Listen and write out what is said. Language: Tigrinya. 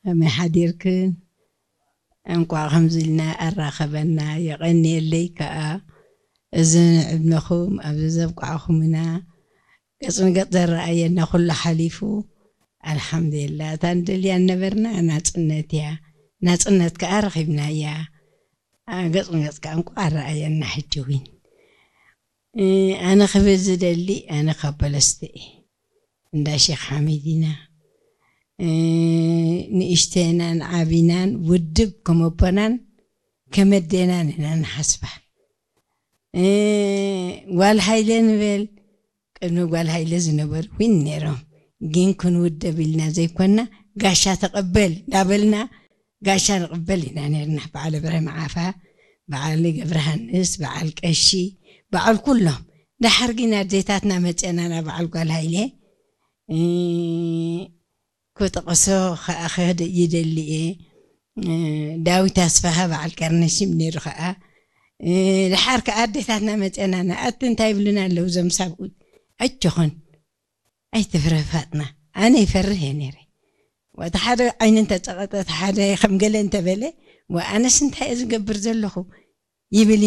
ከመይ ሓዲርክን? እንቋዕ ከምዚ ኢልና ኣራኸበና። የቐንየለይ ከኣ፣ እዚ ንዕድመኹም ኣብዚ ዘብቃዕኹምና፣ ገጽ ንገጽ ዘረኣየና ኩሉ ሓሊፉ፣ ኣልሓምዱሊላ። እታ ንደልያ ነበርና ናጽነት እያ። ናጽነት ከኣ ረኺብናያ። ኣ፣ ገጽ ንገጽ ከኣ እንቋዕ ኣረኣየና ሕጂ እውን። እ፣ ኣነ ክብል ዝደሊ፣ ኣነ ካብ በለስተ እየ። እንዳ ሼክ ሓሚድ ኢና። እ፣ ንእሽተናን ዓቢናን ውድብ ከም ኣቦናን ከም ኣዴናን ኢና ንሓስባ። እ፣ ጓል ሃይለ ንበል፣ ቅድሚ ጓል ሃይለ ዝነበሩ እውን ነይሮም። ግን ክንውደብ ኢልና ዘይኮና፣ ጋሻ ተቐበል እንዳበልና፣ ጋሻ ንቕበል ኢና ነርና። በዓል እብራሂም ዓፋ፣ በዓል ገብረሃንስ፣ በዓል ቀሺ፣ በዓል ኩሎም። ደሓር ግን ኣዴታትና መፅአና ናብ በዓል ጓል ሃይለ። እ፣ ክጠቕሶ ከኣ ክህድ ይደሊ እየ። እ፣ ዳዊት ኣስፋሃ በዓል ቀርነሽም ነይሩ ከኣ። እ፣ ደሓር ከኣ ኣዴታትና መፅአና፣ ንኣቲ እንታይ ይብሉና ኣለዉ እዞም ሳብኡት? ኣይትኹን፣ ኣይትፍረ ፋጥና። ኣነ ይፈርህ እየ ነይረ። ወቲ ሓደ ዓይኒ እንተፀቐጠ፣ እቲ ሓደ ከም ገለ እንተበለ፣ ወኣነስ እንታይ እየ ዝገብር ዘለኹ? ይብል